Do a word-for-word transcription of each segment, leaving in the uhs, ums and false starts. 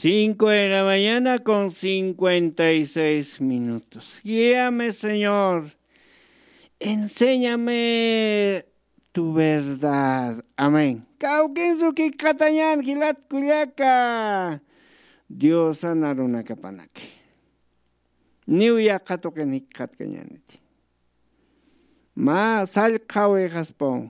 Cinco de la mañana con cincuenta y seis minutos. Guíame, Señor. Enséñame tu verdad. Amén. Kawkinsu kikxatañan jilat kullaka. Diosan arunakapanaki. Niw yaqha tuqin jikxatkañäniti. Mä sallqhawixaspaw,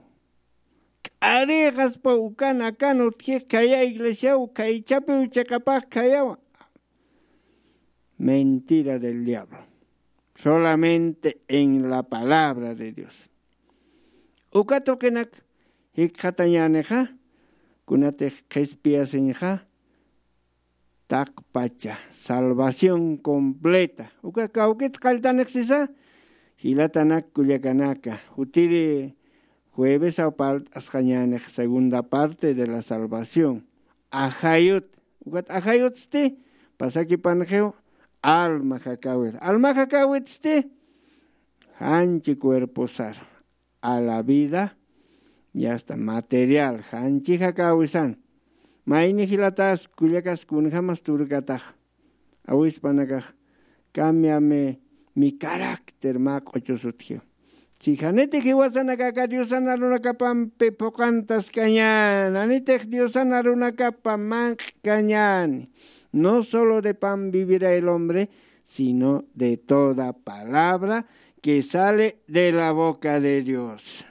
k'arixaspaw ukan akan utjix khaya iglesiaw, khaychapiw chiqapax khayawa. Mentira del diablo. Solamente en la palabra de Dios. Uka tuqinak jikxatañänixa, kunatix qhispiyasiñxa, taqpacha salvación completa. Uka kawkit qalltanix sisa, jilatanak kullakanaka, jutiri juevesaw parlt'asxañänix segunda parte de la salvación. Ajayut, ukat ajayutsti, pasakipanxiw, alma jakäwir. Alma jakäwitsti, janchi cuerposar a la vida y hasta material, janchi jakäwisan. Mayni jilatas kullakas kunjamas turkatax. Awispanakax, cambiame mi carácter mä q'uchus utji. Si janiti jiwasanakaka Diosan arunakapampi phuqantaskañän, janitix Diosan arunakapa manq'kañän. No solo de pan vivirá el hombre, sino de toda palabra que sale de la boca de Dios.